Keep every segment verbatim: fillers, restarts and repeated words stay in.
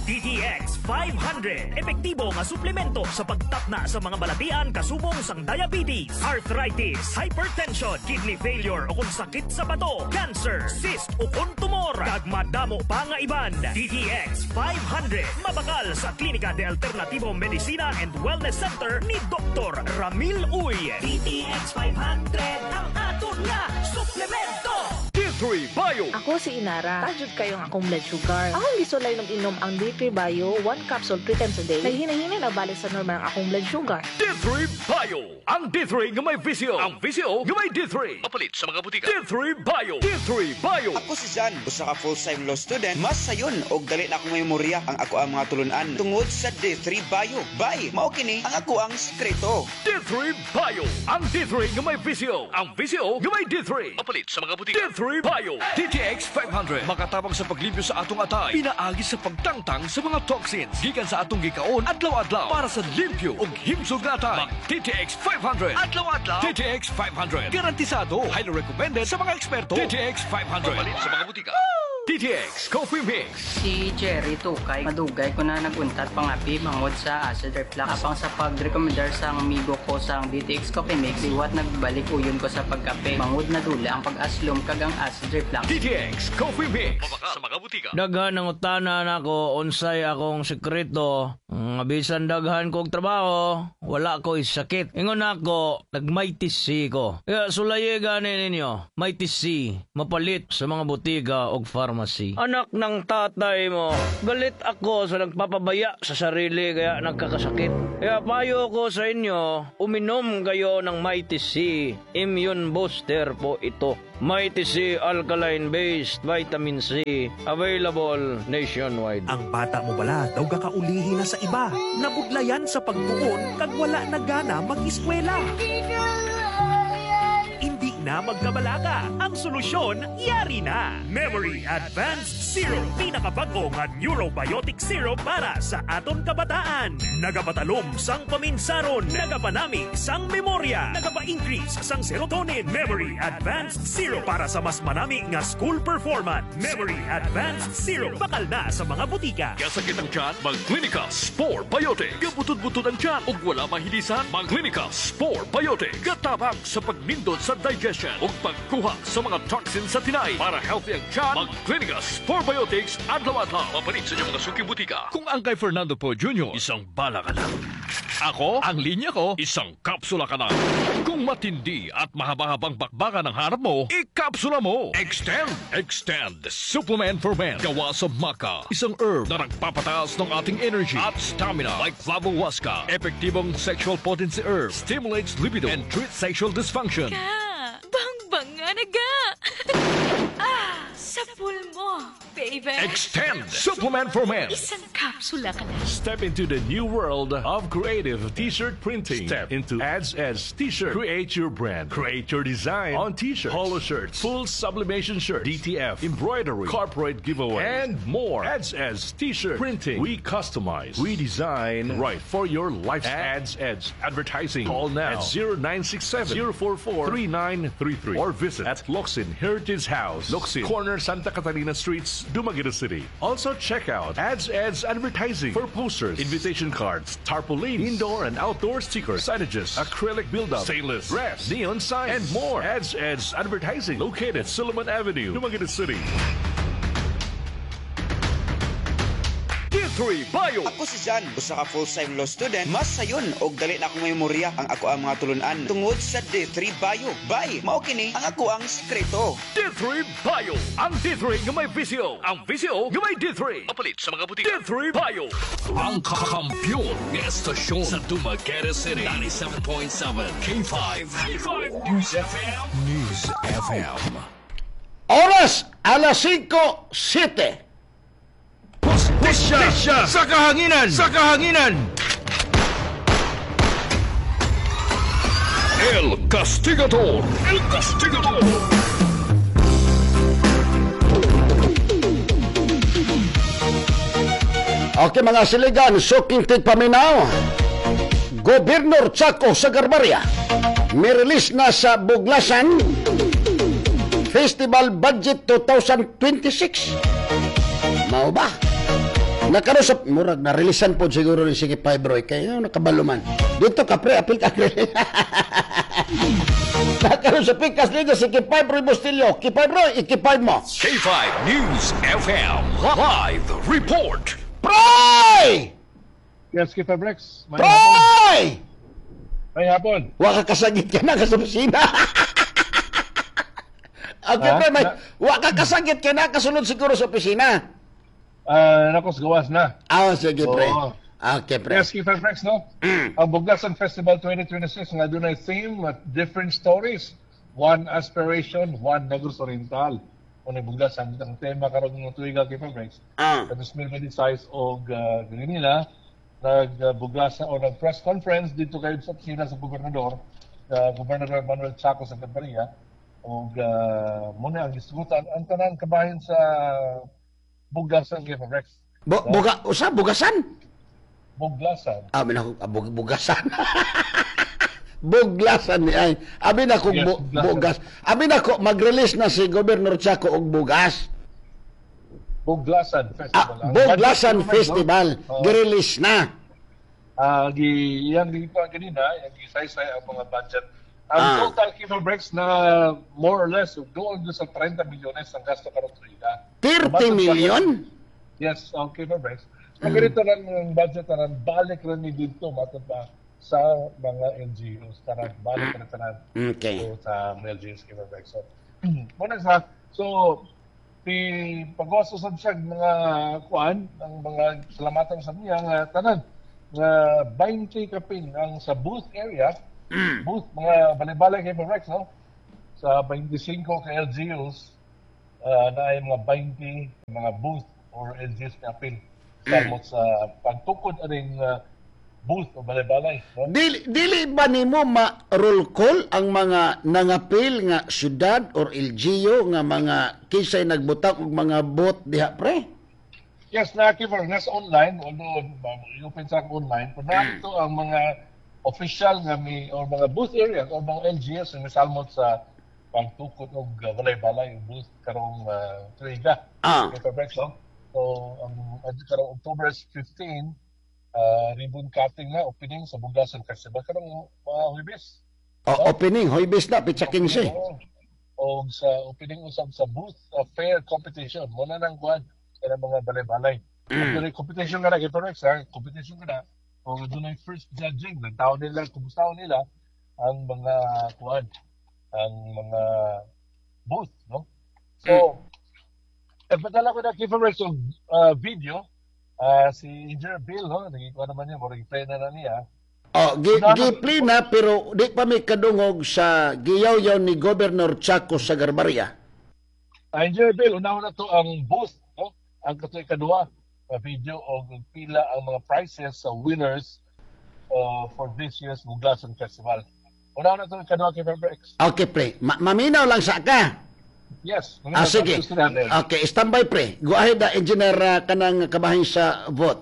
D T X five hundred. Epektibo nga suplemento sa pagtapna sa mga balatian kasubong sang diabetes, arthritis, hypertension, kidney failure o kung sakit sa bato, cancer, cyst o kung tumor, kag madamo pa nga iban. D T X five hundred. Mabakal sa Klinika de Alternativo Medicina and Wellness Center ni Doctor Ramil Uy. D T X five hundred ang aton nga suplemento. D three Bio. Ako si Inara. Taas jud kaayo ang akong blood sugar. Akong gisulay inom ang D three Bio, one capsule three times a day. Naghinay-hinay na balik sa normal ang akong blood sugar. D three Bio. Ang D three nga may V C O. Ang V C O nga may D three. Mapalit sa mga butika. D three Bio. D three Bio. Ako si Jan, usa ka full-time law student. Mas sayon og dali na akong memorya ang ako ang mga tulunan tungod sa D three Bio. Bay, mao kini ang ako ang sikreto. D three Bio. Ang D three nga may V C O. Ang V C O nga may D three. Mapalit sa mga butika. D three Bio. D T X five hundred. Makatabang sa paglimpyo sa atong atay. Pinaagi sa pagtangtang sa mga toxins. Gikan sa atong gikaon adlaw-adlaw para sa limpyo ug himsog nga atay. Mag D T X five hundred. Adlaw-adlaw. D T X five hundred. Garantisado. Highly recommended sa mga eksperto. D T X five hundred. Mapalit sa mga butika. D T X Coffee Mix. Si Jerry Tukay, madugay ko na naguntat pangapi bangod sa acid reflux. Apang sa pagrekomendar sa amigo ko sa D T X Coffee Mix, liwat nagbalik uyon ko sa pagkape. Bangod na dula ang pag-aslom kag ang acid reflux. D T X Coffee Mix. Mabakal sa mga butika. Daghan ang utana nako unsay akong sekreto. Nga bisan daghan kog trabaho, wala ko sakit. Ingon ako, nag-Mighty C ko. Kaya sulayi gani ninyo, Mighty C, mapalit sa mga butika og pharmacy. Anak ng tatay mo, galit ako sa nagpapabaya sa sarili kaya nagkakasakit. Kaya payo ko sa inyo, uminom kayo ng Mighty C. Immune booster po ito. Mighty C Alkaline Based Vitamin C. Available nationwide. Ang bata mo bala daw gakaulihi na sa iba. Nabudlayan sa pagtuon kag wala na gana mag-eskwela. Hindi na magkabalaka. Ang solusyon, yari na. Memory Advanced Syrup. Pinakabago nga neurobiotic syrup para sa aton kabataan. Nagapatalom sang paminsaron. Nagapanami sang memorya. Nagapa-increase sang serotonin. Memory Advanced Syrup para sa mas manami nga school performance. Memory Advanced Syrup. Bakal na sa mga butika. Gasakit ang tiyan, mag-Clinica Spore Biotic. Gabutod-butod ang tiyan ug wala mahilisan, mag-Clinica Spore Biotic. Gatabang sa pagnindot sa digestion ug pagkuha sa mga toxins sa tinay. Para healthy ang tiyan, mag-Clinica Spore Biotics adlaw-adlaw. Mapalit sa inyong mga suking butika. Kung ang kay Fernando Poe Junior, isang bala ka lang. Ako, ang linya ko, isang kapsula ka lang. Kung matindi at mahaba-habang bakbakan ang hanap mo, ikapsula mo. Extend! Extend! Supplement for Men. Gawa sa maca. Isang herb na nagpapataas ng ating energy at stamina. Like Flavohuasca. Epektibong sexual potency herb. Stimulates libido and treats sexual dysfunction. Ka, bang nga naga. Ah, sa pool mo, baby. Extend! Supplement for Men. Isang kapsula ka lang. Step into the new world of creative T-shirt printing. Step into Ads Ads T-shirt. Create your brand. Create your design on T-shirts, polo shirts, full sublimation shirts, D T F, embroidery, corporate giveaway, and more. Ads Ads T-shirt printing. We customize. We design right for your lifestyle. Ads Ads Advertising. Call now at zero nine six seven zero four four three nine three three or visit at Locsin Heritage House, Locsin, corner Santa Catalina Streets, Dumaguete City. Also check out Ads Ads Advertising for posters, invitation cards, tarpaulins, indoor and outdoor stickers, signages, acrylic build-up, stainless, brass, neon signs, and more. Ads Ads Advertising, located at Silliman Avenue, Dumaguete City. D three Bio. Ako si Jan, usa ka full-time law student. Mas sayon og dali na akong memorya ang ako ang mga tulunan tungod sa D three Bio. Bay, mao kini ang ako ang sikreto. D three Bio. Ang D three nga may V C O. Ang V C O nga may D three. Mapalit sa mga butika. D three Bio. Ang kakampiyon nga estasyon sa Dumaguete City. ninety-seven point seven K five. K five News F M. News F M. Oras, alas singko, siyete. Hustisya sa kahanginan! Sa kahanginan! El Castigador. El Castigador. Okay, mga siligan, suking tigpaminaw. Gobernador Chaco Sagarbarria, may release na sa Buglasan Festival Budget twenty twenty-six. Mao ba? Nakaroon sa murag na releasean pod siguro ni sige five Roy kay ano nakabalo man. Dito ka pre, apil ka pre. Nakaroon sa Pikas Liga si K five Roy Bustillo. K five Roy, iki five mo. K five News F M Live Report. Proy! Yes, K five Rex. May Proy! May hapon. Wa ka kasagit ka na sa opisina. Okay, Ha? pre, may, Na- wa ka kasagit ka na kasulod siguro sa opisina. Ah, nako, gawas na. Ah, sige, pre. Oo. Okay, pre. Yes, K five Rex, no? Ang Buglasan Festival twenty twenty-six nga dunay theme at different stories. One aspiration, one Negros Oriental. Kung Buglasan, ang tema karon ng tuiga, K five Rex. Ah. Sa twenty twenty-six og uh, nila nagbuglasan o nag-press conference dito kay sa opisina sa gobernador, uh, Gobernador Manuel Chaco Santamaria, og uh, muna ang gisgutan ang tanan kabahin sa Buglasan, K five Rex. Bu buga, usa bugasan? Buglasan. Abi na ko bug, bugasan. Buglasan ni ay. Abi na ko Yes, bu, buglasan. Bugas. Abi na ko mag-release na si Governor Chaco og bugas. Buglasan Festival. Ah, Ang Buglasan budget Festival Oo. gi-release na. Ah, gi yang gi pa kanina, yang gisaysay ang mga budget. Ang Ah. total, K five Rex, na more or less doon doon sa thirty milyones ang gasto karon tuiga. thirty million? Yes, ang K five Rex. Ang ganito lang ang budget tanan balik rin ni dito matod pa sa mga L G Us, tanan balik rin tanan. Okay. So, sa mga L G Us, K five Rex. So, muna sa so ti pag-uso sa siya mga kuan ang mga salamatan sa niya nga tanan nga twenty kapin ang sa booth area, booth mga balay-balay kay Rex, no, sa twenty-five ka L G Us uh, na ay mga twenty mga booth or L G Us kapin samot sa pagtukod aning uh, booth o balay-balay, no? Dili, dili ba nimo ma-roll call ang mga nangapil nga syudad or L G U nga mga kinsay nagbutang og mga booth diha, pre? Yes, na Kiver, nasa online, although um, i-open sa akong online, pero mm. ang mga official nga mi or mga booth areas or mga L G Us nga misalmot sa pagtukod og uh, balay-balay og booth karong uh, tuiga. Ah. K five Rex, no? So, ang um, karong October fifteen, uh, ribbon cutting na, opening sa Buglasan Festival karong uh, Huwebes. O, opening, Huwebes na, petsa fifteen. Oo. O sa opening usab sa booth uh, fair competition mo na nang kuan sa mga balay-balay. Mm. Mm. Competition ka na kay Rex, ha? Competition ka na. O doon ay first judging ng tao nila, kumusta nila ang mga kuan, ang mga booth, no? So, mm. eh, padala ko na kay Rex og uh, video. Uh, si Engineer Bill, no? Naging kuan naman niya, murag play na na niya. Oh, gi, gi na pero di pa mi kadungog sa giyaw-yaw ni Governor Chaco Sagarbarria. Uh, Engineer Bill, unahon na to ang booth, no? Ang katoy kadua uh, video o pila ang mga prizes sa winners uh, for this year's Buglasan Festival. Unahon na to ang kadua kay X. Okay, pre. Ma maminaw lang sa ka. Yes. Ah, sige. Okay, standby, pre. Go ahead, uh, Engineer, uh, kanang kabahin sa vote.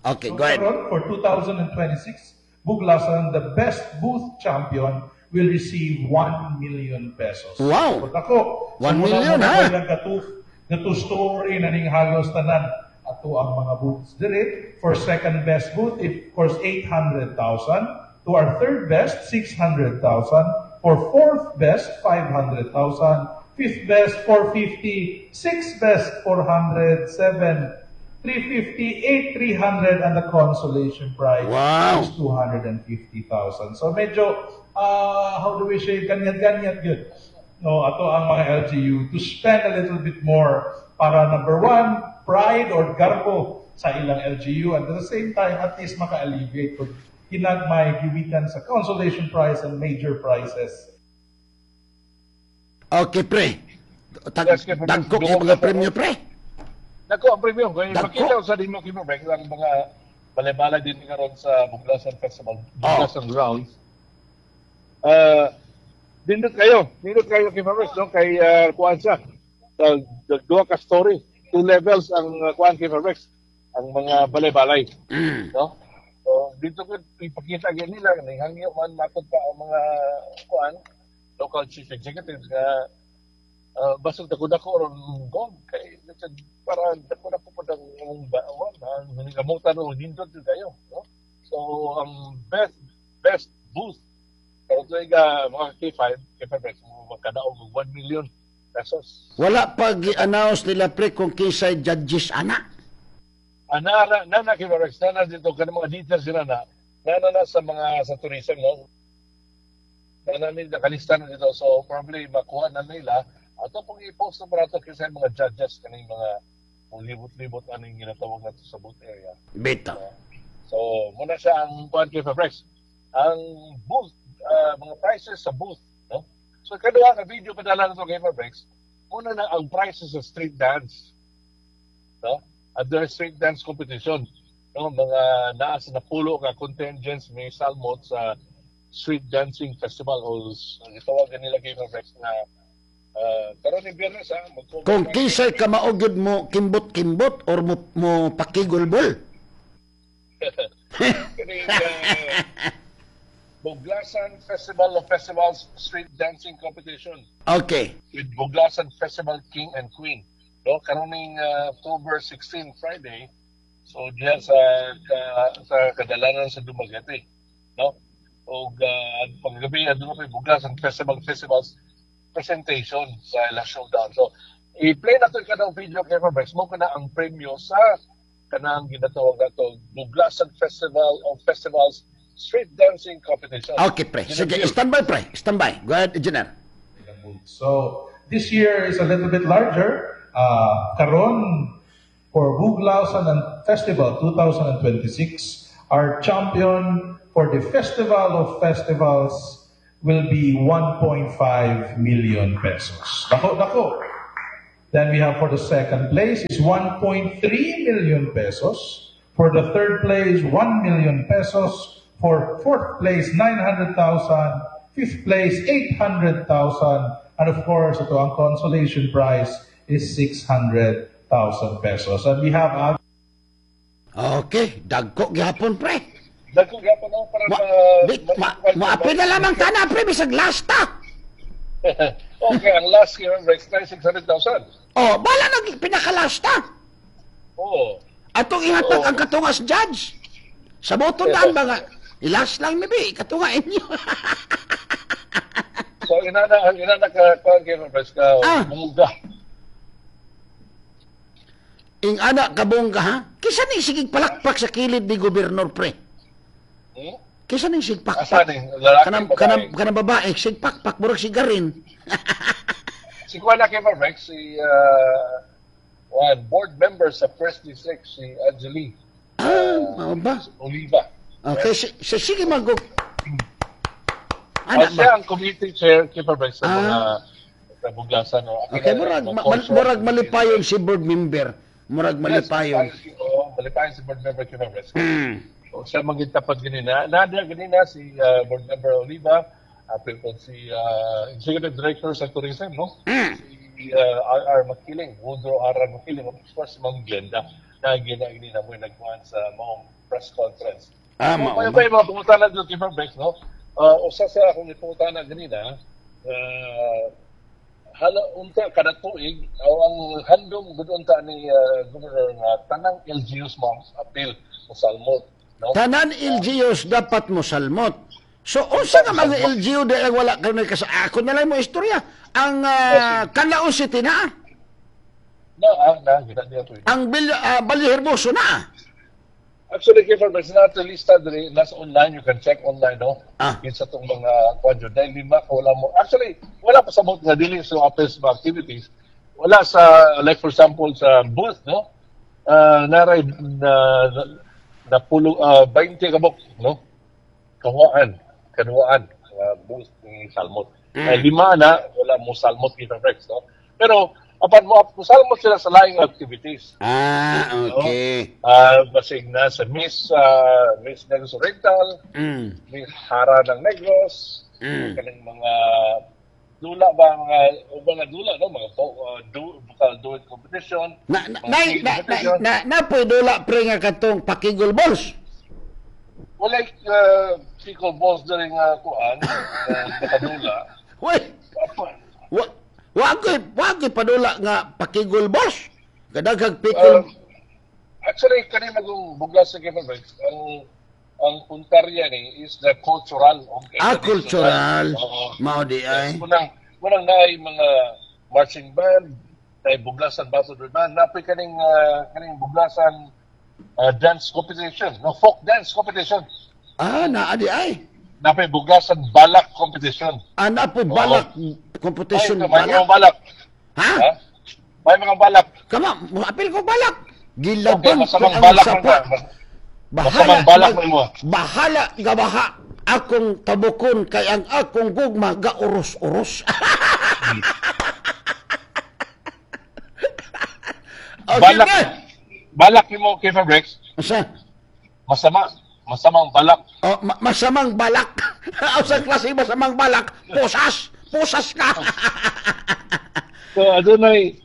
Okay, So go ahead. karon, for twenty twenty-six, Buglasan, the best booth champion will receive one million pesos. Wow! So, dako. one million, ha? Gatu, gatu story na ning halos tanan ato ang mga booths diri. For second best booth, if of course eight hundred thousand. To our third best, six hundred thousand. For fourth best, five hundred thousand. Fifth best, four fifty. Sixth best, four hundred. Seven, three fifty, eight, three hundred, and the consolation prize Wow. is two hundred fifty thousand. So medyo, uh, how do we say, ganyat-ganyat good. No, ato ang mga L G U to spend a little bit more para number one, pride or garbo sa ilang L G U and at the same time, at least maka-alleviate kung hinagmay giwitan sa consolation prize and major prizes. Okay, pre. Tag Yes, K five. Dagko kay mga premyo, pre. Dako ang premium. Kaya Dagko. makita sa din mo K five Rex ang mga balay-balay din karon sa Buglasan Festival, Buglasan Grounds. Uh, nindot kayo, nindot kayo kay Rex, no? Kay uh, kuan siya. Uh, duha ka story, two levels ang uh, kuan kay Rex, ang mga balay-balay, no? So dito ko ipakita gyud nila ning hangyo man matod pa ang mga kuan local chief executives nga Uh, basig dako-dako ron gong kay para dako-dako po ang among bawan, ang gamutan o nindot jud kayo, no? So ang best best booth karon tuig uh, mga K five K five mo magkadaog og one million pesos. Wala pa gi-announce nila, pre, kung kinsay judges ana? Ana na na na K five na na dito kanang mga details sila na na na, na sa mga sa tourism, no? Na na nila nakalista na dito, so probably makuha na nila ato pong i-post na barato kasi mga judges kaning mga libot-libot aning ginatawag nato sa booth area. Bitaw. So, muna siya ang kuan kay Fabrex. Ang booth, uh, mga prices sa booth, no? So, kaduha ka video padala na to kay Fabrex. Muna na ang prices sa street dance. No? At the street dance competition, no? Mga naa sa napulo ka contingents may salmot sa street dancing festival o gitawagan nila kay Fabrex na uh, karon ni Biyernes ha, mag- Kung kinsay kamao gyud mo kimbot-kimbot or mo, mo pakigulbol. Kining uh, Buglasan Festival of Festivals Street Dancing Competition Okay. with Buglasan Festival King and Queen. No, karoning uh, October sixteen, Friday. So diya sa ka, sa kadalanan sa Dumaguete, no? Og uh, paggabi aduna pa Buglasan Festival Festivals presentation sa ila showdown. So i-play na to kanang video kay Fabrex mo kana ang premyo sa kanang ginatawag nato Buglasan Festival of Festivals Street Dancing Competition. Okay, pre. Sige, stand by, pre. Stand by. Go ahead, Engineer. So this year is a little bit larger. Uh, karon for Buglasan and Festival twenty twenty-six, our champion for the Festival of Festivals will be one point five million pesos. Dako, dako. Then we have for the second place is one point three million pesos. For the third place, one million pesos. For fourth place, nine hundred thousand. Fifth place, eight hundred thousand. And of course, ito ang consolation prize is six hundred thousand pesos. And we have other Okay, dagko gihapon, pre. Dagko gyapon, no, para Ma, ma, di, ma, maapil na lamang tana, pre, bisag last ta. Okay, ang last year, Rex, six hundred thousand. Oh, bala nag pinakalast ta. Oo. Atong ihatag Oo. ang katungas judge. Sa boto daan ba nga, ilas lang maybe, katunga inyo. So, inana, inana ka, kuan kay Rex, ka, Ah. bungga. Ing ana kabongga ha? Kisa ni sigig palakpak sa kilid ni gobernador, pre? Hmm? Kisa ni sig pakpak? Asa ni? Lalaki, Kanang babae? kanang kanang babae sig pakpak murag sigarin. Si kuan na kay Rex, si, uh, one, board member sa First District, si Angeli Ah, mao ba? Oliva. Okay, si, si sige mag Ah, Ana siya ba? ang committee chair kay Rex sa Ah. mga sa Buglasan. No? Okay, murag ma, ma- murag malipayon si board member. Murag malipayon. Yes, oo, malipayon si board member kay Rex. Hmm. So, siya magintapad ganina. Nadia ganina si uh, board member Oliva, apil po si uh, executive director sa tourism, no? Mm. Si uh, R R. Makiling, Woodrow R R. Makiling, of course, si Ma'am Glenda, na gina ganina mo yung nagkuhan sa maong press conference. Ah, So, mao kaya ba? ba yung mga pangutana dito kay Rex, no? Uh, usa sa akong ipangutana ganina, uh, hala unta kada tuig o ang handom gud unta ni uh, Governor nga tanang L G Us mo apil mo salmot, no? Tanan L G Us dapat mo salmot. So unsa nga mga L G U di ang wala kay kasi ako na lang mo istorya. Ang uh, Canlaon City na, Na ah, na gina niya to. Ang Bil, uh, Vallehermoso na. Actually, kay Fabrex, nato lista diri nasa online, you can check online, no? Ah. Yun sa itong mga kwadyo. Dahil lima ka wala mo. Actually, wala pa sa booth nga dili sa office mga activities. Wala sa, like for example, sa booth, no? Uh, naray na, na, na pulo, uh, twenty kabok, no? Kahuaan, kanuaan, uh, booth ni Salmot. Mm. Eh, lima na, wala mo Salmot kay Fabrex, no? Pero, apan mo, mo salmot sila sa laing activities. Ah, okay. Ah, basig na sa Miss ah, Miss Negros Oriental, Mm. Miss Hara ng Negros, Mm. kaning mga dula ba mga o mga dula, no, mga uh, do, vocal duet competition. Na na mga na singing na na, competition. na, na po'y dula, pre, nga katong pakigol balls. Well, like uh, pickle balls during uh, kuan, uh, nakadula. Uy, Apa, wa Wa koy wa koy padula nga pakigol boss. Kadaghag pikol. Um, actually kani magong Buglasan kay Fabrics, ang ang puntarya ni is the cultural. Okay, ah, cultural. Oo. Mao di ay. Munang munang naay mga marching band, naay Buglasan Battle Band, napoy kaning uh, kaning Buglasan uh, dance competition, no, folk dance competition. Ah, naa di ay. Napoy Buglasan balak competition. Ah, napoy balak competition. Ay, may mga balak. Ha? Ha? May mga balak. Kama, apil ko balak. Gilabang Okay, masamang ko ang balak sapa. man ka. Bahala, Masamang balak mag- mo. Bahala gabaha akong tabukon kay ang akong gugma gaurus-urus. Okay, Balak. na. Balak nimo kay Fabrics. Asa? Masama, masamang balak. Oh, ma- masamang balak. Sa klase masamang balak, pusas, pusas ka. So adunay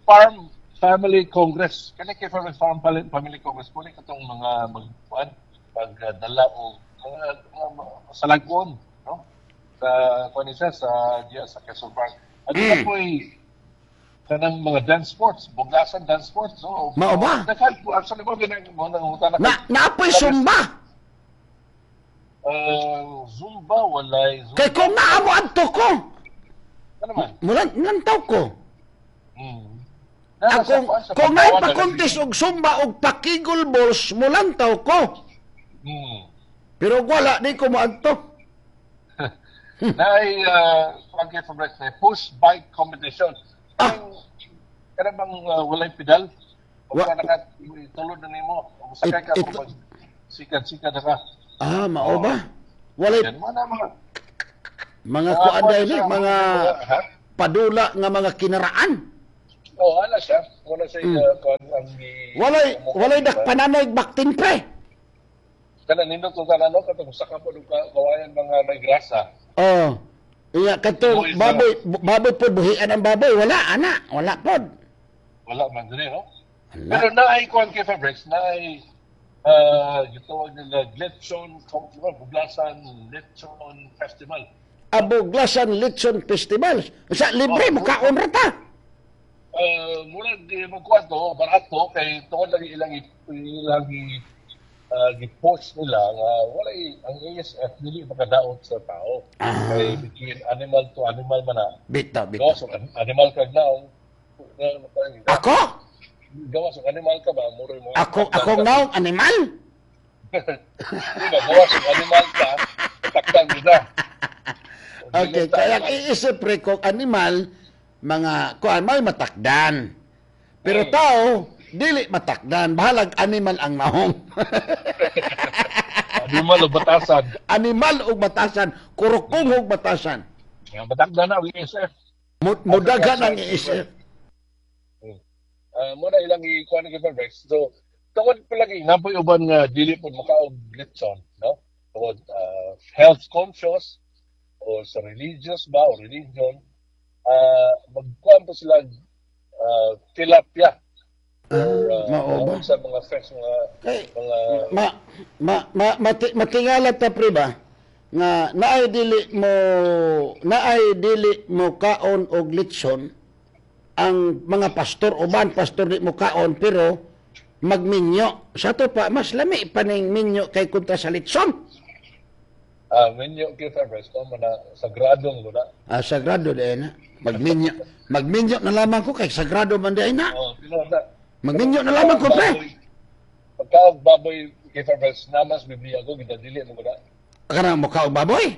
Farm Family Congress. Kani kay Farm Farm Family Congress po ni katong mga magkuan pagdala og mga, mga salagon, no? Sa kuan ni siya sa diya sa Quezon Park. Adunay Mm. po'y kanang mga dance sports, Buglasan dance sports, no? Mao ba? Daghan po actually mo ginang mo nangutana Na naapoy sumba. Uh, Zumba walay Zumba. Kay kung naamo adto ko. Ano man? Mulan nantaw ko. Mm. Akong kung naay pa-contest og sumba og pakigol balls, mulantaw ko. Mm. Pero wala di ko moadto. Naay uh, kay Fabrics na push bike competition. Ah. Kana bang uh, walay pedal? Wa naka tulod na nimo. Sakay ka kung sikat-sikat na ka. Ah, mao ba? Walay Yan, mga mga mga Mga kuan kuan dahil siya, eh, mga ha? padula nga mga kinaraan. Oh, ala siya. Wala siya Mm. uh, kuan ang gi Walay walay dakpananay baktin pre. Kana nindot kung tanan no katong saka po og kawayan mga may grasa. Oh. Iya katong Buhi sila. baboy baboy pod buhian ang baboy wala ana, wala pod. Wala man diri no. Wala. Pero naay kuan kay Fabrics, naay uh, gitawag nila Lechon Buglasan Lechon Festival. Abuglasan Litson Festival. Sa libre Oh. mo kaon ra ta. Uh, murag eh, magkuan to, barato kay tungod lagi ilang ilang gi uh, gi-post nila nga walay ang A S F dili makadaot sa tao. Ah. Kay between animal to animal man na. Bitaw, bitaw. Gawas og animal kag naong. Ako? Gawas og animal ka ba muro mo. Ako akong naong animal. Di ba gawas og animal ka, takdan nila. Okay, kaya iisip pre kung animal mga kuan may matakdan. Pero tao dili matakdan, bahalag animal ang naong. Animal o batasan. Animal ug batasan, kurukong ug batasan. Nga matakdan na ang A S F. Mu- Mudagan ang A S F. Uh, muna ilang i-kuan ni Fabrics. So, tungod pa lagi, napoy uban nga dili po makaog lechon, no? Tungod uh, health conscious o sa religious ba o religion, uh, magkuan po sila uh, tilapia. Or, uh, mao ba? sa mga fresh mga mga Ma ma ma mati, matingala ta pre ba nga naay dili mo naay dili mo kaon og litson ang mga pastor uban pastor di mo kaon pero magminyo sa to pa mas lami pa ning minyo kay kontra sa litson. Ah, minyo kay Fabrics ko man na sagradong guna. Ah, sagrado di na. Magminyo magminyo na lamang ko kay sagrado man di na. Oh, pero na Magminyo na lamang ko pre. Pagkaog baboy kay Fabrics namas Biblia ko gidadili mo guna. Kana mo kaog baboy.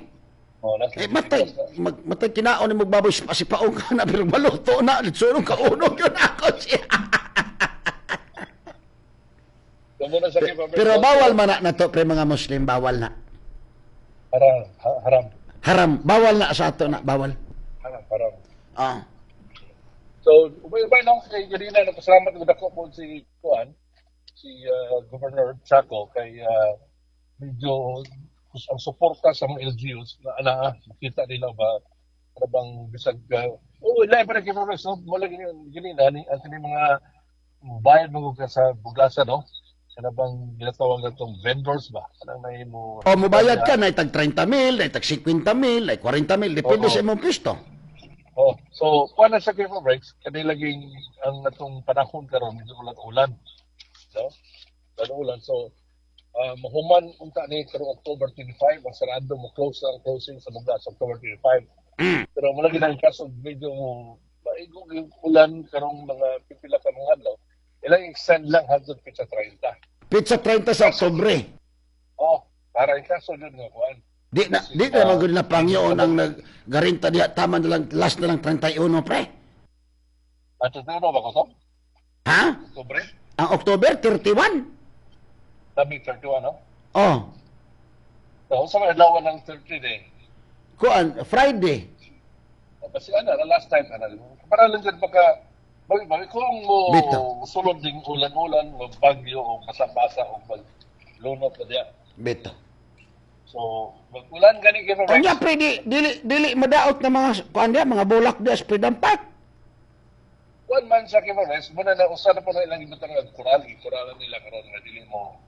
Oh, nasa Eh, matay, mag, matay kinaon ni magbaboy si paong ka na, pero maluto na, litsunong kaunog yun ako siya. Pero bawal man na, na to, pre mga Muslim, bawal na. Haram, haram. Haram, bawal na sa ato na, bawal. Haram, haram. Ah. So, ubay-ubay lang kay Garina, nagpasalamat ko dako po si Kuan, si uh, Governor Chaco, kay uh, medyo ang suporta sa mga L G Us na, na makita nila ba ano bang bisag uh, oh lain pa rin kay Flores, no? Mula gini gini na ni ang kini mga bayad mo ka sa Buglasan, no? Kana bang ginatawag natong vendors ba? Kanang nahimo O mobayad ka na tag trenta mil, na tag singkwenta mil, na kwarenta mil, depende Oo. sa imong pisto. Oh, so kuan na sa K five Rex, kani laging ang atong panahon karon medyo ulan-ulan. No? Ulan-ulan. So uh, mahuman unta ni karong October twenty-five, ang sarado mo close ang closing sa Buglas October twenty-five. Mm. Pero mula gid ang kaso medyo maigong yung ulan karong mga pipila ka mga adlaw. Ilang extend lang hangtod petsa thirty. Petsa thirty sa Oktubre. Oh, para in kaso jud nga kuan. Di na di na man gud na pangyoon ang naggarinta diha, tama na lang, last na lang thirty-one, pre. Ato na ba ko to? Ha? Oktubre? Ang October thirty-one? Tabi thirty-one, no? Oh, So, sa mga adlaw ng thirty day. Kuan Friday. Kasi ano, na last time, ano, para lang dyan pagka, bagi, bagi, kung mo Bito. Sulod ding ulan-ulan, magbagyo o basa-basa o maglunot na diya. Bito. So, mag-ulan gani kayo. Unya pre, di dili dili madaot na mga kuan diha, mga bulak diha sa Freedom Park. Kuan man sa Kevin Rex, muna na usa na po na ilang ibutang nga koral, ikoralan nila karon nga dili mo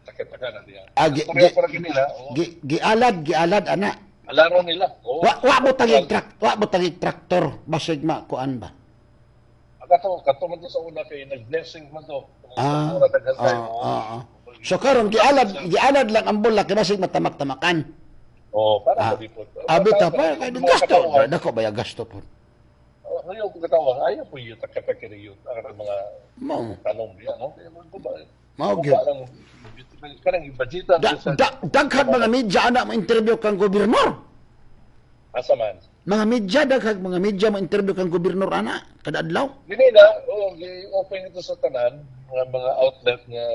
takit-taka na diya. Ah, gi, Istorya gi, para nila, oo. gi, gialad gialad ana. Alaro nila. Oo. Wa wa mo tagig trak wa mo tagig traktor basig ma kuan ba. Ah, Kato, kato man to sa una kay nag-blessing man to. Ah, Mura daghan ah, tayo. Oo. ah, ah. So karon gialad gialad lang ang bulak kay basig matamak-tamakan. Oh, para Ah. sa di po. Ah, bitaw pa kay gasto. Dako ba ya gasto po. Ayaw ko katawa, ayaw po yung takapakiri yun. Ang mga Mao. tanong diya, no? Kaya mo ba? Mao Guba gyud. lang, kanang ibudgetan Da, da, daghan mga media ana mo interview kang gobernador. Asa man. Mga media, daghang mga media mo interview kang gobernador ana kada adlaw. Dili na, oh, gi-open ito sa tanan, mga mga outlet nga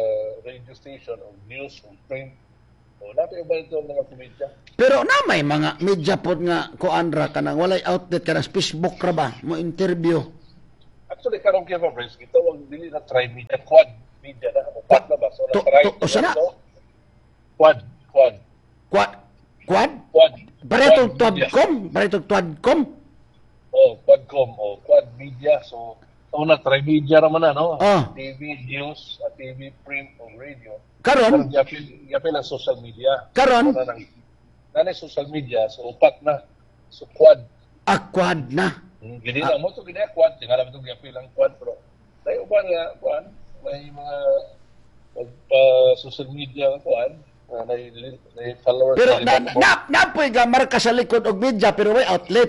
radio station o news o print. O, natin ba ito mga komedya? Pero na may mga media pod nga kuan ra kanang walay outlet, kanang Facebook ra ba mo interview. Actually, karong kay Fabrice, gitawag dili na tri media, quad media na, o quad na ba? So, na To- tri, to- usa na? Quad, quad, Quad quad quad. Paretong Quad media. tuadcom, paretong tuadcom. Oh, Quadcom, oh, Quad Media. So, sa una, tri-media naman na, no? Ah. T V, news, ah, T V, print, o radio. Karon? Pero yapil, yapil ang social media. Karon? Una nang, nanay social media, so upat na. So, quad. Ah, quad na. Hmm, Gini na mo to gini quad, tingala mo to yapil ang quad, pero tayo ba nga, quad, may mga magpa social media nga quad, na may, may followers. Pero na na na napoy ga marka sa likod og media pero way outlet.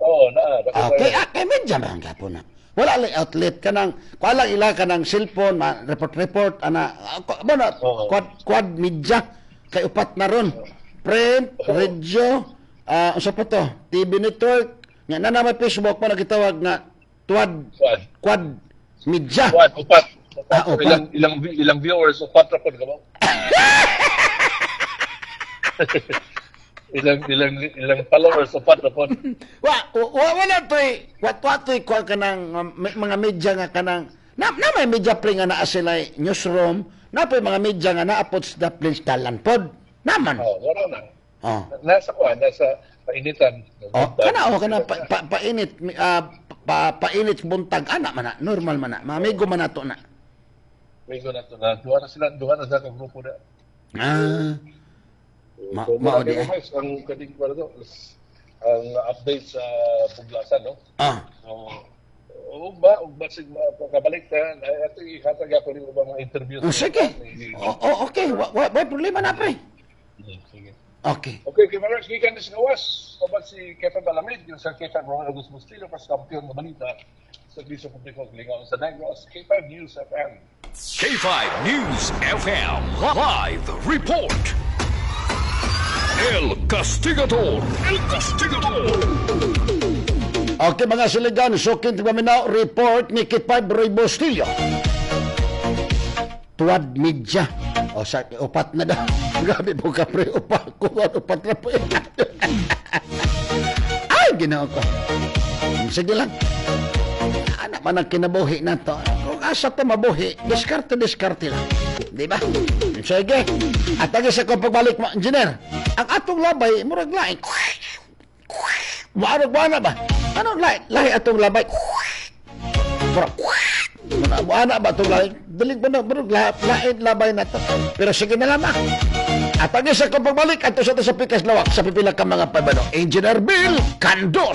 Oo, na. Okay, ah, kay media man gapon na. Wala lang outlet kanang kuan lang ila kanang cellphone ma, report report ana, ah, ku- mo na quad quad media kay upat na ron. Print, radio, ah, unsa pa to? T V network, nga na na may Facebook mo na gitawag nga tuad Quad. Quad media. Quad, upat. Upat. Ah, upat. Ilang, ilang, ilang viewers, upat ra pod ka ba? ilang ilang ilang followers, upat ra pod. Wa wa wala toy wa wa toy kuan kanang um, may- mga media nga kanang na, na may media pre nga naa sila newsroom, na poy mga media nga naa pod sa Dublin dalan pod. Naman. Oh, wala na. Oh. Nasa kuan, nasa painitan. Oh, kana oh kana pa, pa, painit ah, pa, painit buntag ana man na, normal man na. Mamigo man nato na. Migo na to na. Duha na sila, duha na sila ka grupo na. Ah. Ma, So, mao muna di kayo, eh. guys, ang kating kuan to, ang update sa Buglasan, no? Ah. So, ugba, ugba sig kabalik ta, ay ato ihatag ako rin ubang mga interviews. Oh, sige. Oh, oh, okay, wa, wa, wa problema na pre. Sige. Okay. Okay, kay Marex, gikan ni sa gawas. Kabat si Kevin Balamid, yung sa Kevin Ronald Augusto Bustillo, pas kampiyon ng balita sa Serbisyo Publiko Lingaw sa Negros, K five News F M. K five News F M Live Report. El Castigador. El Castigador. Okay mga siligan, sukin paminaw report ni K five Roy Bustillo. Tuwad media. O sa upat na daw. Grabe po ka pre, upat ko, upat na po. Ay, Ginoo ko. Sige lang. Anak man ang kinabuhi na to. Kung asa to mabuhi, diskarte, diskarte lang. Di ba? Sige. At agi sa kong pagbalik mo, engineer, ang atong labay, murag lain. Maarag ba na ba? Ano lahi, lahi atong labay? Murag, murag, ana ba atong lahi? Dalig ba na, murag, lahi, lain labay na to. Pero sige na lamang. At ang isa kong pagbalik, ato sa sa Pikas Lawak, sa pipila ka mga pabano, Engineer Bill Candos.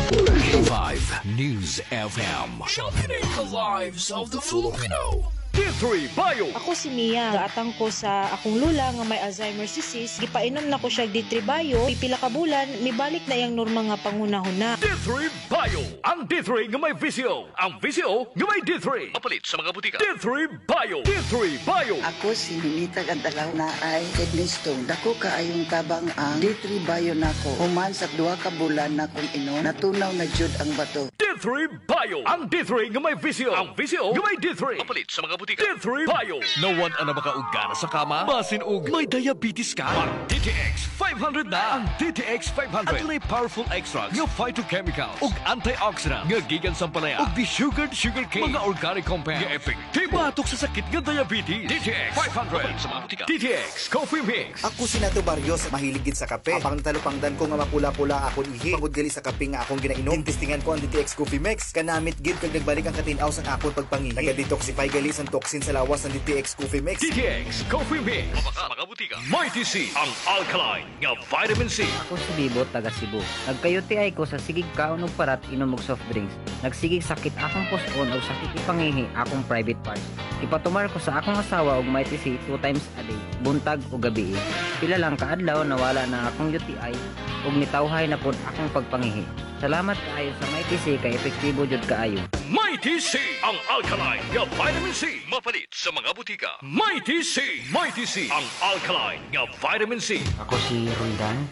K five News F M. Championing the lives of the Filipino. D three Bio. Ako si Mia. Gaatang ko sa akong lula nga may Alzheimer's disease. Gipainom na ko siya D three Bio. Pipila ka bulan, mibalik na iyang normal nga panghunahuna. D three Bio. Ang D three nga may V C O. Ang V C O nga may D three. Mapalit sa mga butika. D three Bio. D three Bio. Ako si Ninita Gandalaw na ay kidney stone. Dako kaayong tabang ang D three Bio nako. Human sa duha ka bulan na kong inom, natunaw na jud ang bato. D three Bio. Ang D three nga may V C O. Ang V C O nga may D three. Mapalit sa mga butika. D three Bio. Nawad na ba ka og gana sa kama? Basin og may diabetes ka? Mag D T X five hundred na. Ang D T X five hundred. Adunay powerful extracts nga phytochemicals ug antioxidant nga gikan sa ampalaya ug desugared sugar cane. Mga organic compound nga epektibo batok sa sakit nga diabetes. D T X five hundred. Mapalit sa mga butika. D T X Coffee Mix. Ako si Nato Barrios, mahilig gid sa kape. Apang talupangdan ko nga mapula-pula akon ihi. Pangod gali sa kape nga akong ginainom. Gintistingan ko ang D T X Coffee Mix. Kanamit gid kag nagbalik ang katinaw sa akon pagpangihi. Naga-detoxify gali sa toxin sa lawas ang D T X Coffee Mix. D T X Coffee Mix. Sa mga butika. Mighty C. Ang alkaline nga vitamin C. Ako si Bibo, taga Cebu. Nagka-U T I ko sa sigig kaon og parat, inom og soft drinks. Nagsigig sakit akong puson og sakit ipangihi akong private parts. Ipatumar ko sa akong asawa og Mighty C two times a day, buntag o gabi. Pila lang kaadlaw, nawala na akong U T I ug nitawhay na pod akong pagpangihi. Salamat kaayo sa Mighty C kay epektibo jud kaayo. Mighty C. Ang alkaline nga vitamin C. Mapalit sa mga butika. Mighty C. Mighty C. Ang alkaline nga vitamin C. Ako si Roldan.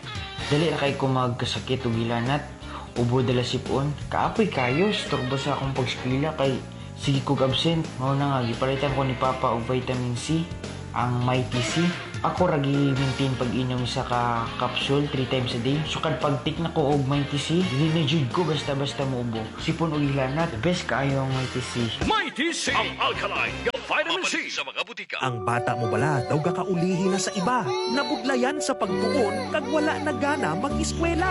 Dali ra kay ko magkasakit og hilanat. Ubo, dala sipon. Kaapoy kayo, storbo sa akong pagskwela kay sige kog absent. Mao na nga gipalitan ko ni Papa og vitamin C, ang Mighty C. Ako ra gi-maintain pag-inom sa ka capsule three times a day. Sukad pag-take na ko og Mighty C, dili na jud ko basta-basta muubo. Sipon og hilanat, the best kaayo ang Mighty C. Mighty C. Ang alkaline nga vitamin C. Sa mga butika. Ang bata mo bala daw gakaulihi na sa iba. Nabudlayan sa pagtuon kag wala na gana mag-eskwela.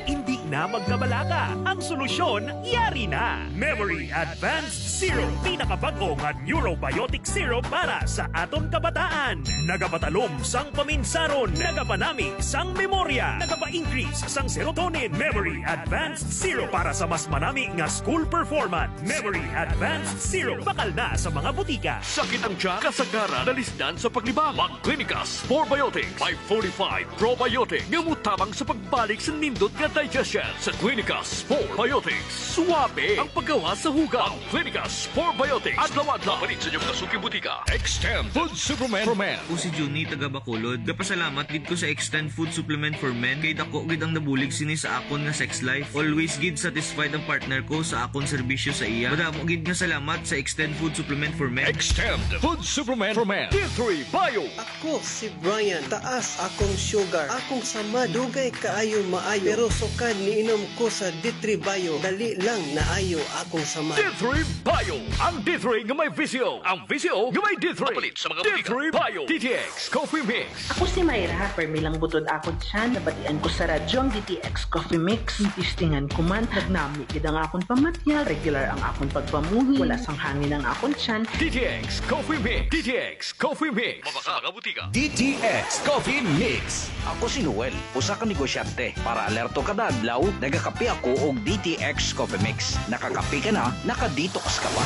Hindi na magkabalaka. Ang solusyon, yari na. Memory Advanced Syrup. Pinakabago nga neurobiotic syrup para sa aton kabataan. Nagapatalom sang paminsaron. Nagapanami sang memorya. Nagapa-increase sang serotonin. Memory Advanced Syrup para sa mas manami nga school performance. Memory Advanced Syrup. Bakal na sa mga butika. Sakit ang tiyan, kasagaran, nalisdan sa paglibang. Mag-Clinicas Probiotics by forty-five Probiotic nga mutabang sa pagbalik sa nindot nga digestion. Sa Clinicas Probiotics, suwabe ang paggawa sa hugaw. Ang Clinicas Probiotics. Adlaw-adlaw. Palit sa inyong kasuking butika. Extend Food Supplement for Men. Ako si Juni, taga Bacolod. Gapasalamat gid ko sa Extend Food Supplement for Men kay dako gid ang nabulig sini sa akon nga sex life. Always gid satisfied ang partner ko sa akon serbisyo sa iya. Madamo gid nga salamat sa Extend Food Supplement for Men. Extend Food Supplement for Men. D three Bio. Ako si Brian. Taas akong sugar. Akong sama dugay kaayo maayo. Pero sukad niinom ko sa D three Bio, dali lang naayo akong sama. D three Bio. Ang D three nga may V C O. Ang V C O nga may D three. Mapalit sa mga butika. D three Bio. D T X Coffee Mix. Ako si Mayra. Permi lang butod ako tiyan. Nabatian ko sa radyo ang D T X Coffee Mix. Tistingan ko man. Nagnami gid ang akon pamatya. Regular ang akon pagpamuhi. Wala sang hangin ang akon tiyan. D T X Coffee Mix. D T X Coffee Mix. Mabaka mga butika. D T X Coffee Mix. Ako si Noel, usa ka negosyante. Para alerto kada adlaw, nagakape ako og D T X Coffee Mix. Nakakape ka na, naka-detox ka pa.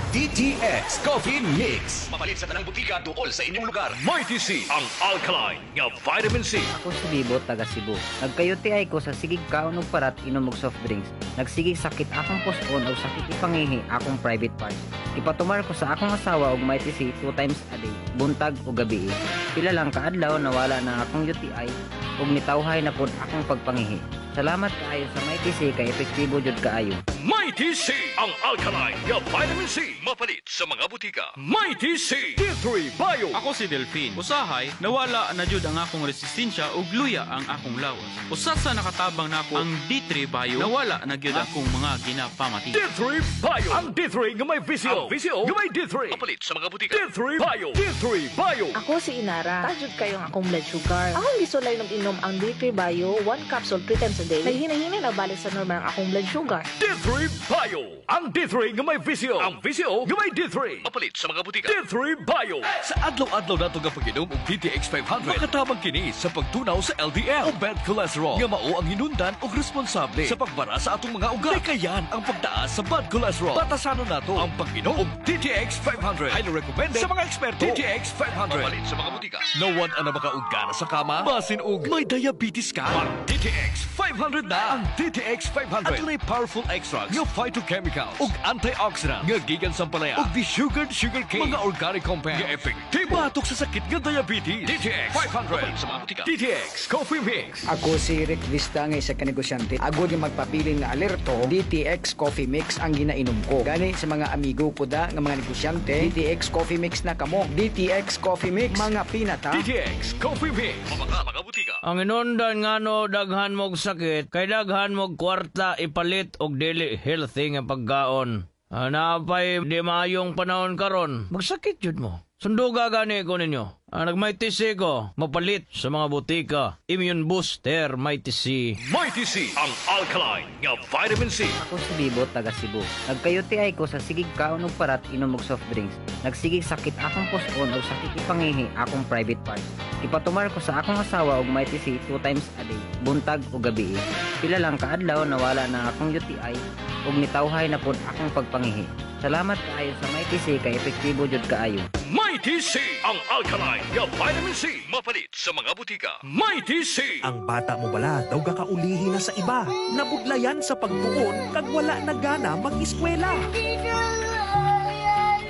D T X Coffee Mix. Mapalit sa tanang butika duol sa inyong lugar. Mighty C. Ang alkaline nga vitamin C. Ako si Bibo, taga Cebu. Nagka-U T I ko sa sigig kaon og parat, inom og soft drinks. Nagsigig sakit akong puson og sakit ipangihi akong private parts. Ipatumar ko sa akong asawa og Mighty C two times a day, buntag o gabi. Pila lang kaadlaw, nawala na akong U T I ug nitawhay na pod akong pagpangihi. Salamat kaayo sa Mighty C kay epektibo jud kaayo. Mighty C. Ang alkaline nga vitamin C. Mapalit sa mga butika. Mighty C. D three Bio. Ako si Delphine. Usahay, nawala na jud ang akong resistensya ug luya ang akong lawas. Usa sa nakatabang nako ang D three Bio, nawala na gyud akong mga ginapamati. D three Bio. Ang D three nga may V C O. Ang V C O nga may D three. Mapalit sa mga butika. D three Bio. D three Bio. Ako si Inara. Taas jud kayo ang akong blood sugar. Akong gisulay inom ang D three Bio, one capsule three times times a day. Naghinay-hinay na balik sa normal ang akong blood sugar. D three Bio. Ang D three nga may V C O. Ang V C O nga may D three. Mapalit sa mga butika. D three Bio. Sa adlaw-adlaw nato nga pag-inom og D T X five hundred, makatabang kini sa pagtunaw sa L D L o bad cholesterol nga mao ang hinundan og responsable sa pagbara sa atong mga ugat. Likayan ang pagtaas sa bad cholesterol. Batasanon nato ang pag-inom og D T X five hundred. Highly recommended sa mga eksperto. D T X five hundred. Mapalit sa mga butika. Nawad na ba ka og gana sa kama? Basin og may diabetes ka? Mag D T X five hundred na. Ang D T X five hundred adunay powerful extracts nga phytochemicals ug antioxidant nga gikan sa ampalaya ug desugared sugar cane, mga organic compound nga epektibo batok sa sakit nga diabetes. D T X five hundred sa mga butika. D T X Coffee Mix. Ako si Rick Vista nga isa ka negosyante. Agod nga magpabilin nga alerto, D T X Coffee Mix ang ginainom ko. Gani sa mga amigo ko da nga mga negosyante, D T X Coffee Mix na kamo. D T X Coffee Mix, mga pinata. D T X Coffee Mix. Mabaka mga butika. Ang inundan ngano daghan mog sakit kay daghan mog kwarta ipalit og dili healthy nga pagkaon. Ah, naapay di maayong panahon karon, magsakit jud mo. Sunduga gani ko ninyo. Ah, nag-Mighty C ko, mapalit sa mga butika. Immune booster, Mighty C. Mighty C, ang alkaline nga vitamin C. Ako si Bibo, taga Cebu. Nagka-U T I ko sa sigig kaon og parat, inom og soft drinks. Nagsigig sakit akong puson og sakit ipangihi akong private parts. Ipatumar ko sa akong asawa og Mighty C two times a day, buntag o gabi. Pila lang kaadlaw nawala na akong U T I ug nitawhay na pod akong pagpangihi. Salamat kaayo sa Mighty C kay epektibo jud kaayo. Mighty C, ang alkaline nga vitamin C. Mapalit sa mga butika. Mighty C. Ang bata mo bala daw gakaulihi na sa iba. Nabudlayan sa pagtuon kag wala na gana mag-eskwela.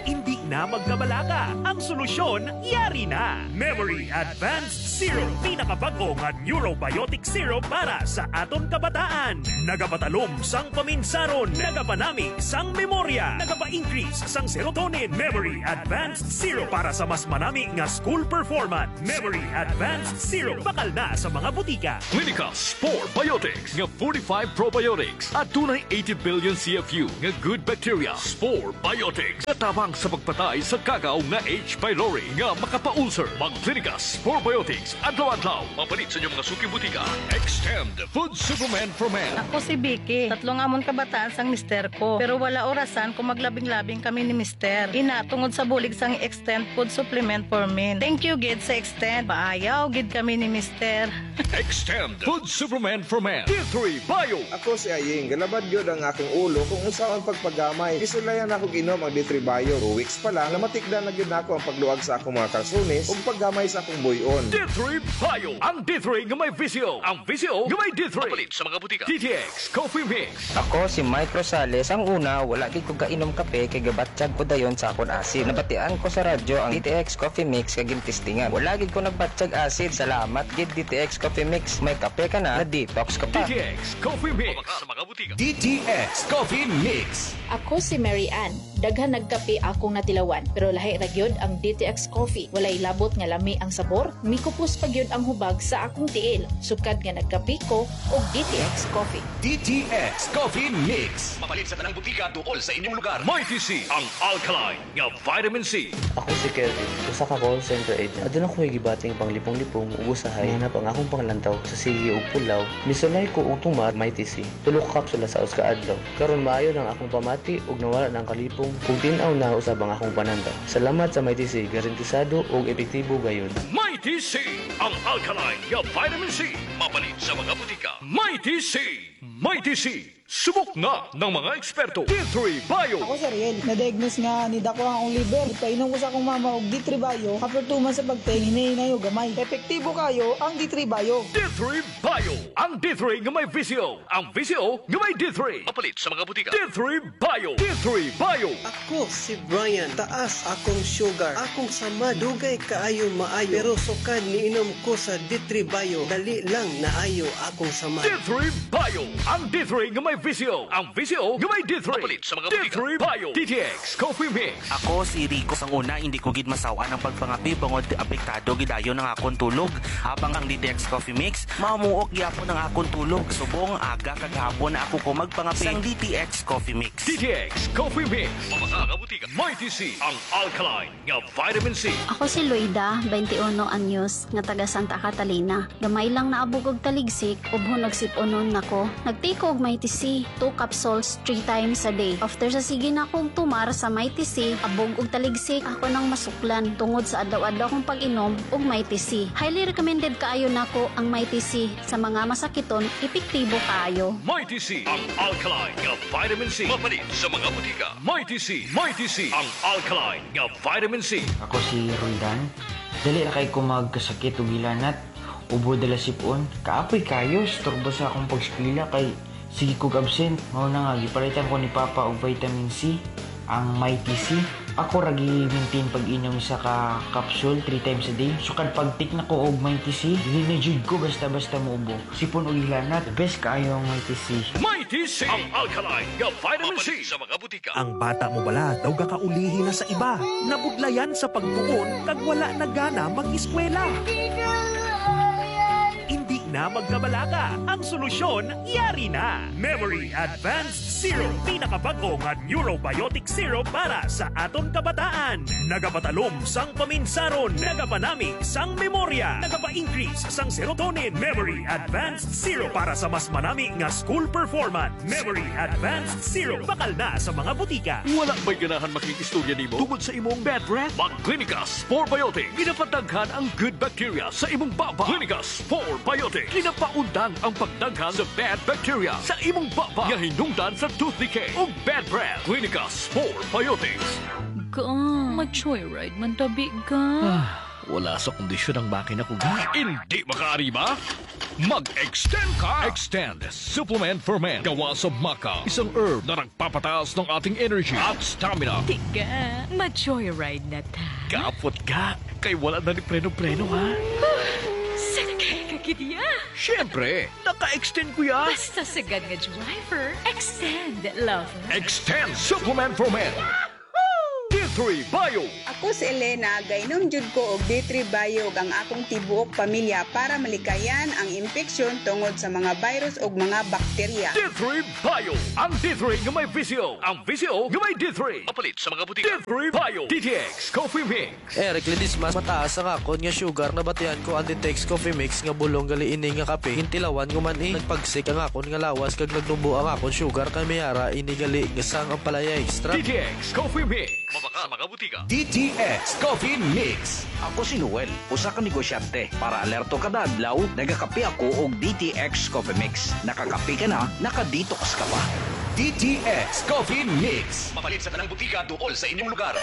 Hindi na magkabalaka. Ang solusyon, yari na. Memory Advanced Syrup. Pinakabago nga neurobiotic syrup para sa aton kabataan. Nagapatalom sang paminsaron. Nagapanami sang memorya. Nagapa-increase sang serotonin. Memory Advanced Syrup para sa mas manami nga school performance. Memory Advanced Syrup. Bakal na sa mga butika. Clinica Spore Biotics nga forty-five probiotics at tunay eighty billion C F U nga good bacteria. Spore Biotics natabang sa pagpatay sa kagaw nga H. pylori nga makapa-ulcer. Mag-Clinica Spore Biotics adlaw-adlaw. Mapalit sa inyong mga suking butika. Extend Food Supplement for Men. Ako si Vicky. Tatlong amon kabataan sang mister ko. Pero wala orasan kung maglabing-labing kami ni mister. Ina, tungod sa bulig sang Extend Food Supplement for Men. Thank you, gid, sa Extend. Paayaw, gid kami ni mister. Extend Food Supplement for Men. D three Bio. Ako si Aying, galabad gyud ang akong ulo kung unsaon pagpagamay. Gisulayan ako ginom ang D three Bio. Two weeks pa lang, namatikdan na gyud nako ang pagluag sa akong mga kalsunis ug paggamay sa akong buy-on. D three Bio. Ang D three nga may V C O. Ang V C O nga may D three. Mapalit sa mga butika. D T X Coffee Mix. Ako si Mike Rosales. Ang una, wala gid ko kainom kape kay gabatsyag ko dayon sa akon acid. Nabatian ko sa radyo ang D T X Coffee Mix kag gintistingan. Wala gid ko nagbatsyag acid. Salamat gid, D T X Coffee Mix. May kape ka na, na-detox ka pa. D T X Coffee Mix. Sa mga butika. D T X Coffee Mix. Ako si Mary Ann. Daghan nagkape akong natilawan, pero lahi ra gyud ang D T X Coffee. Walay labot nga lami ang sabor, mikupos pa gyud ang hubag sa akong tiil. Sukad nga nagkape ko og D T X Coffee. D T X Coffee Mix. Mapalit sa tanang butika duol sa inyong lugar. Mighty C, ang alkaline nga vitamin C. Ako si Kelvin, usa ka call center agent. Aduna ko gibating panglipong-lipong ug usahay hanap ang akong panglantaw sa sige ug pulaw. Misulay ko og tumar Mighty C. Tulo ka kapsula sa usa ka adlaw. Karon maayo nang akong pamati ug nawala na ang kalipong ug tin-aw na usab ang akong panantaw. Salamat sa Mighty C, garantisado ug epektibo gayud. Mighty C, ang alkaline nga vitamin C. Mapalit sa mga butika. Mighty C, Mighty C. Subok na ng mga eksperto. D three Bio. Ako si Ariel, na-diagnose nga ni dako ang akong liver. Painom ko sa akong mama og D three Bio, after two months sa pagteng, hinahinay og gamay. Epektibo kayo ang D three Bio. D three Bio. Ang D three nga may V C O. Ang V C O nga may D three. Mapalit sa mga butika. D three Bio. D three Bio. Ako si Brian, taas akong sugar. Akong sama dugay kaayo maayo. Pero sukad niinom ko sa D three Bio, dali lang naayo akong sama. D three Bio. Ang D three nga may V C O. Ang V C O nga may D three. Mapalit sa mga D three Bio. D T X Coffee Mix. Ako si Rico. Sang una, hindi ko gid masawan ang pagpangapi bangod apektado gidayon ang akon tulog. Habang ang D T X Coffee Mix, mamuok gyapon ang akon tulog. Subong aga kag hapon na ako ko magpangapi sang D T X Coffee Mix. D T X Coffee Mix. Mabaka butika. Mighty C. Ang alkaline nga vitamin C. Ako si Loida, twenty-one anyos, nga taga Santa Catalina. Gamay lang naabog og taligsik, ubhon nagsipunon nako. Nag-take ko og Mighty C, two capsules three times a day. After sa sige na akong tumar sa Mighty C, abog og taligsik ako nang masuklan tungod sa adlaw-adlaw kong pag-inom og Mighty C. Highly recommended kaayo nako ang Mighty C sa mga masakiton, epektibo kaayo. Mighty C. Ang alkaline nga vitamin C. Mapalit sa mga butika. Mighty C. Mighty C. Ang alkaline nga vitamin C. Ako si Roldan. Dali ra kay ko magkasakit og hilanat. Ubo dala sipon. Kaapoy kayo, storbo sa akong pagskwela kay sige kog absent. Mao na nga gipalitan ko ni Papa og vitamin C, ang Mighty C. Ako ra gi-maintain pag-inom sa ka capsule three times a day. Sukad pag-take na ko og Mighty C, dili na jud ko basta-basta muubo. Sipon og hilanat, the best kaayo ang Mighty C. Mighty C. Ang alkaline nga vitamin C. Sa mga butika. Ang bata mo bala daw gakaulihi na sa iba. Nabudlayan sa pagtuon kag wala na gana mag-eskwela. Hindi na magkabalaka. Ang solusyon, yari na. Memory Advanced Syrup. Pinakabago nga neurobiotic syrup para sa aton kabataan. Nagapatalom sang paminsaron. Nagapanami sang memorya. Nagapa-increase sang serotonin. Memory Advanced Syrup para sa mas manami nga school performance. Memory Advanced Syrup. Bakal na sa mga butika. Wala ba'y ganahan makikistorya nimo tungod sa imong bad breath? Mag-Clinica Spore Biotic. Ginapadaghan ang good bacteria sa imong baba. Clinica Spore Biotic. Ginapaundang ang pagdaghan sa bad bacteria sa imong baba. Nga hinungdan sa tooth decay ug bad breath. Clinica Spore Biotics. Ga, mag-joyride man tabi ga. Ah, wala sa kondisyon ang makina ko, ga. Hindi makaarima? Mag-extend ka! Extend Supplement for Men. Gawa sa maca. Isang herb na nagpapataas ng ating energy at stamina. Tika, mag-joyride na ta. Kapot ka. Kay wala na ni preno-preno, ha? Sakay ka gid ya. Siyempre, naka-extend ko ya. Basta sagad nga driver, extend, lover. Extend Supplement for Men. D three Bio. Ako si Elena, gainom jud ko og D three Bio ug ang akong tibuok pamilya para malikayan ang impeksyon tungod sa mga virus ug mga bakterya. D three Bio. Ang D three nga may V C O. Ang V C O nga may D three. Mapalit sa mga butika. D three Bio. D T X Coffee Mix. Eric Ledesma, mataas ang akon nga sugar, nabatian ko ang D T X Coffee Mix nga bulong gali ini nga kape. Hintilawan ko man eh. Nagpagsik ang akon nga lawas kag nagnubo ang akon sugar kay mayara ini gali nga sang ampalaya extra. D T X Coffee Mix. Mabaka sa mga butika. D T X Coffee Mix. Ako si Noel, usa ka negosyante. Para alerto kada adlaw, nagakape ako og D T X Coffee Mix. Nakakape ka na, naka-detox ka pa. D T X Coffee Mix. Mapalit sa tanang butika duol sa inyong lugar.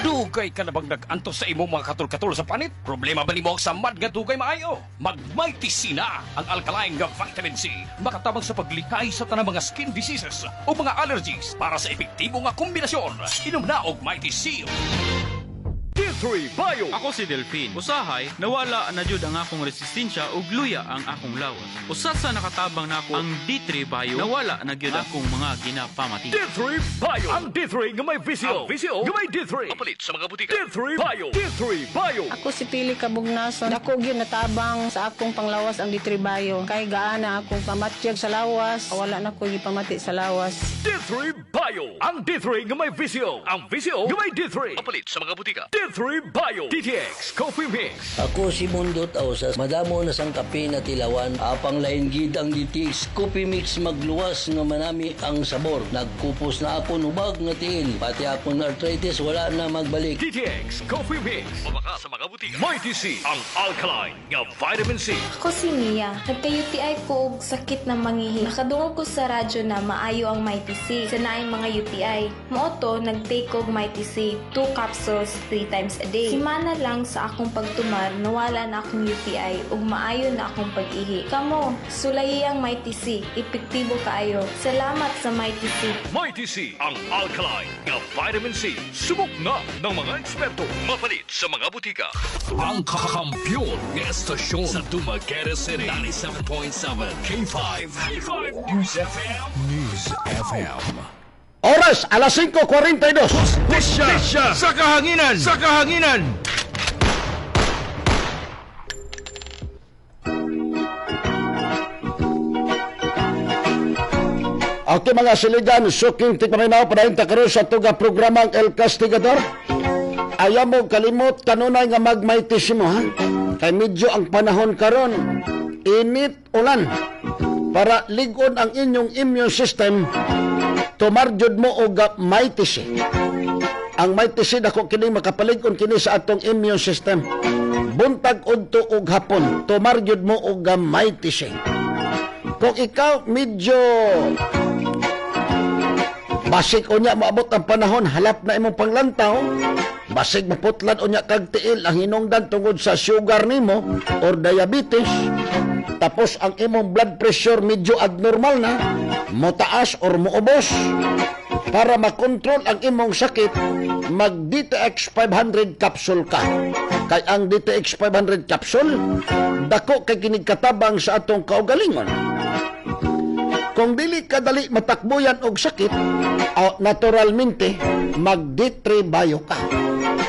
Dugay ka na bang nag-antos sa imong mga katul-katul sa panit? Problema ba nimo ang samad nga dugay maayo? Mag-Mighty C na ang alkaline nga vitamin C. Makatabang sa paglikay sa tanang mga skin diseases o mga allergies para sa epektibo nga kombinasyon. Inom na og Mighty C. D three Bio. Ako si Delphine. Usahay, nawala na jud ang akong resistensya ug luya ang akong lawas. Usa sa nakatabang nako ang D three Bio, nawala na gyud akong mga ginapamati. D three Bio. Ang D three nga may V C O. Ang V C O nga may D three. Mapalit sa mga butika. D three Bio. D three Bio. Ako si Pili Kabugnason. Dako gyud natabang sa akong panglawas ang D three Bio. Kay gaana akong pamatyag sa lawas, wala na ko gipamati sa lawas. D three Bio. Ang D three nga may V C O. Ang V C O nga may D three. Mapalit sa mga butika. D three Bio. D T X Coffee Mix. Ako si Mundo Tausas. Madamo na sang kape na tilawan. Apang lain gid ang D T X Coffee Mix, magluwas nga manami ang sabor. Nagkupos na ako hubag nga tiil. Pati akong arthritis wala na magbalik. D T X Coffee Mix. Mabaka sa mga butika. Mighty C. Ang alkaline nga vitamin C. Ako si Mia. Nagka-U T I ko og sakit na mangihi. Nakadungog ko sa radyo na maayo ang Mighty C sa naay mga U T I. Mao to, nag-take og Mighty C. Two capsules, three times times a day. Simana lang sa akong pagtumar, nawala na akong U T I ug maayo na akong pag-ihi. Kamo, sulayi ang Mighty C. Epektibo kaayo. Salamat sa Mighty C. Mighty C, ang alkaline nga vitamin C. Subok na ng mga eksperto. Mapalit sa mga butika. Ang kakampiyon nga estasyon sa Dumaguete City. ninety-seven point seven K five. K five News F M. News F M. Oras, alas singko kuwarenta y dos. Hustisya sa kahanginan! Sa kahanginan! Okay, mga siligan, suking tigpaminaw, padayon ta karon sa tuga programang El Castigador. Ayaw mo kalimot kanunay nga magmaitis mo, ha. Kay medyo ang panahon karon init, ulan. Para ligon ang inyong immune system, tumar jud mo og Mighty C. Ang Mighty C, dako kini makapalig-on kini sa atong immune system. Buntag, udto ug hapon, tumar jud mo og Mighty C. Kung ikaw medyo basig unya moabot ang panahon, halap na imong panglantaw, basig maputlan unya kag tiil ang hinungdan tungod sa sugar nimo or diabetes, tapos ang imong blood pressure medyo abnormal na, motaas or moubos, para makontrol ang imong sakit, mag D T X five hundred capsule ka. Kay ang D T X five hundred capsule, dako kay kinig katabang sa atong kaugalingon. Kung dili ka dali matakbuyan og sakit, oh, naturalmente mag D three Bio ka.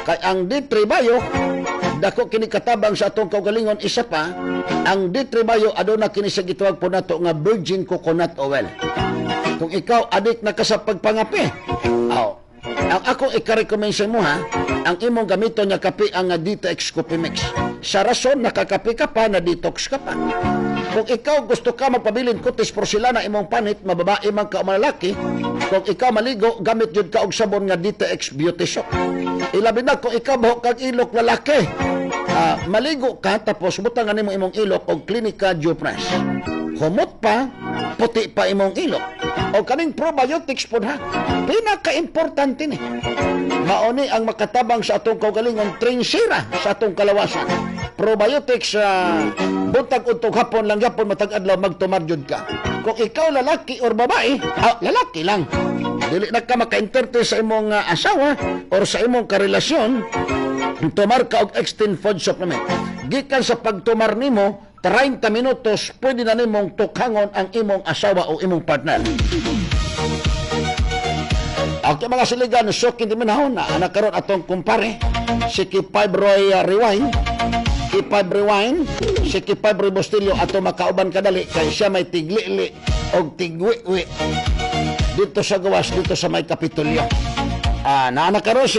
Kay ang D three Bio, dako kini katabang sa atong kaugalingon. Isa pa, ang D three Bio aduna kini sa gitawag po nato nga virgin coconut oil. Kung ikaw adik na ka sa pagpangape, oh, ang ako ika-recommend sa imo, ha, ang imong gamiton nga kape ang D T X Coffee Mix. Sa rason nakakape ka pa, na detox ka pa. Kung ikaw gusto ka magpabilin kutis porselana imong panit, mababae man ka o malalaki, kung ikaw maligo, gamit jud ka og sabon nga D T X Beauty Soap. Ilabi na kung ikaw buhok kag ilok, lalaki. Ah, maligo ka tapos butangan nimo imong ilok og Klinika Dewpress. Humot pa, puti pa imong ilok. O kaning probiotics pod, ha. Pinaka-importante ni. Mauni ang makatabang sa atong kaugalingon, trinsira sa atong kalawasan. Probiotics sa uh, buntag, udtong, hapon lang yapon, matag adlaw magtumar jud ka. Kung ikaw lalaki or babae, ah, lalaki lang. Dili na ka maka-entertain sa imong uh, asawa or sa imong karelasyon, tumar ka og Extend Food Supplement. Gikan sa pagtumar nimo, treinta minutos, pwede na nimong tukhangon ang imong asawa o imong partner. Okay, mga siligan, so kindi manahon na anak karon atong kumpare, si K five Roy uh, Rewind, K five Rewind, si K five Roy Bustillo ato makauban kadali kay siya may tiglili og tigwi-wi dito sa gawas, dito sa may Kapitolyo. Ah, naana karon si